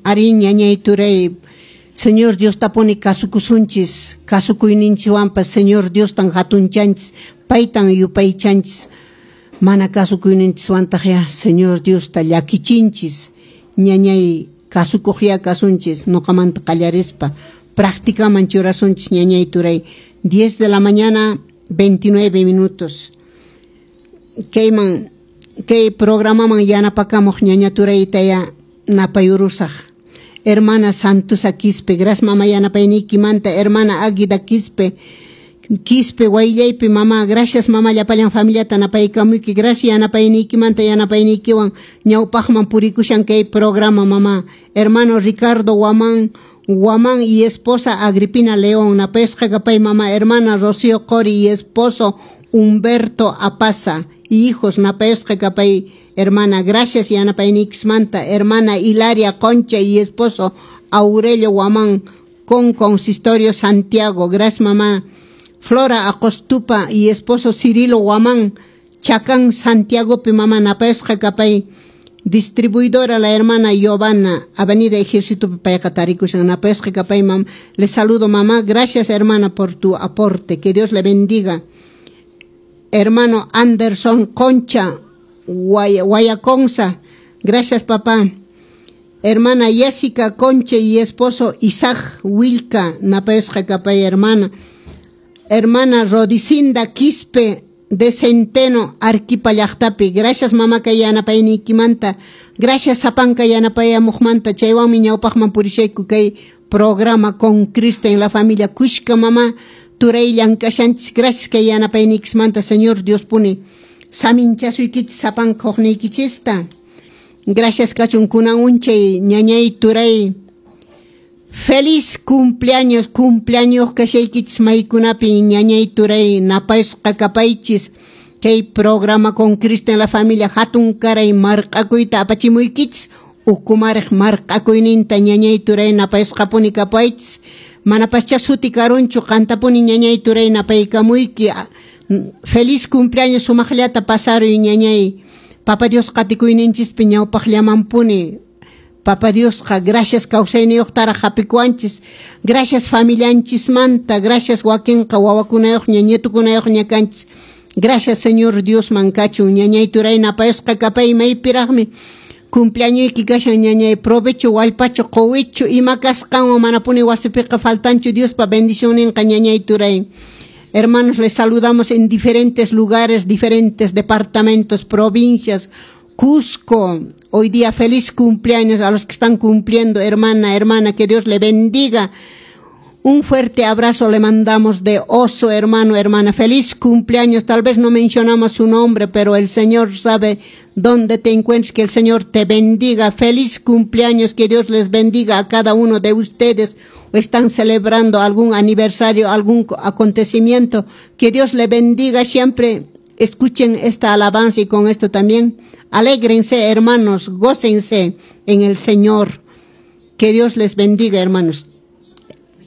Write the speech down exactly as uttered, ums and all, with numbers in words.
Arí, ñañay turay, Señor Diostapuni kasukusunchis, kasukuyninchikwanpas Señor Diostan hatunchanchis, paytan yupaychanchis. Mana kasukuyninchiswantaq ya Señor Diosta llakichinchis. Ñañay, kasukuqyá kasunchis, nuqamanta qallarispa practicaman churasunchis, ñañay turay. diez de la mañana, veintinueve minutos. Kayman kay programaman yanapakamuq ñaña turayta ya napayurusaq. Hermana Santusa Quispe, gracias, mama, yanapayniykimanta. Hermana Águida Quispe, Quispe Wayllaypi, mamá, gracias, mama, llapallan familiata napaykamuyki, gracias yanapayniykimanta, yanapayniykiwan ñawpaqman purikushan kay programa, mamá. Hermano Ricardo Guamán, Guamán y esposa Agripina León, napayasqa kapay, mamá. Hermana Rocío Cori y esposo Humberto Apaza y hijos, napayasqa kapay, hermana, gracias yanapayniykismanta. Hermana Hilaria Concha y esposo Aurelio Guamán con Consistorio Santiago, gracias, mamá. Flora Acostupa y esposo Cirilo Guamán, Chacán Santiago pi, mamá, napayasqa kapay. Distribuidora la hermana Giovanna, Avenida Ejército payqa tarikushan, napayasqa kapay, mam. Le saludo, mamá, gracias, hermana, por tu aporte, que Dios le bendiga. Hermano Anderson Concha, Guayaconza, gracias, papá. Hermana Jessica Concha y esposo Isaac Wilka, napayasqa kapay, hermana. Hermana Rodicinda Quispe de Centeno, Arequipa llaqtapi. Gracias, mama, kay yanapayniykimanta. Gracias sapanka yanapayamuqmanta. Chaywanmi ñawpaqman purishayku kay programa Con Cristo en la Familia. Kushka, mama turay, llank'ashanchis. Gracias kay yanapayniykismanta. Señor Dios puni saminchasuykichis sapanka huqniykichista. Gracias kachun kunan unchay, ñañay turay. Feliz cumpleaños, cumpleaños kashaykichis maykunapi, ñañay turay, napayasqa kapaychis. Kay programa Con Cristo en la Familia hatun karay marq'akuyta apachimuykichis, ukumariq marq'akuyninta, ñañay turay, napayasqapuni kapaychis. Manapascha suti karunchu, qantapuni, ñañay turay, napaykamuyki. Feliz cumpleaños, sumaqllata pasaruy, ñañay. Papa Dios qatikuyninchispi ñawpaqllamanpuni. Papa Diosqa gracias kawsayniyuqtaraq hapikuwanchis. Gracias familianchismanta, gracias wakinqa wawakunayuqña, nietukunayuqña kanchis. Gracias Señor Diosman kachun, ñañay turay, napayasqa kapay maypiraqmi cumpleañoyki kashan, ñañay. Provecho, wallpacho, quwichu, ima kasqanwan manapuni wasipiqa faltanchu Diospa bendicionninqa, ñañay turay. Hermanos, les saludamos en diferentes lugares, diferentes departamentos, provincias. Cusco, hoy día feliz cumpleaños a los que están cumpliendo, hermana, hermana, que Dios le bendiga. Un fuerte abrazo le mandamos de oso, hermano, hermana. Feliz cumpleaños. Tal vez no mencionamos su nombre, pero el Señor sabe dónde te encuentras. Que el Señor te bendiga. Feliz cumpleaños. Que Dios les bendiga a cada uno de ustedes. O están celebrando algún aniversario, algún acontecimiento. Que Dios le bendiga siempre. Escuchen esta alabanza y con esto también alégrense, hermanos, gócense en el Señor. Que Dios les bendiga, hermanos.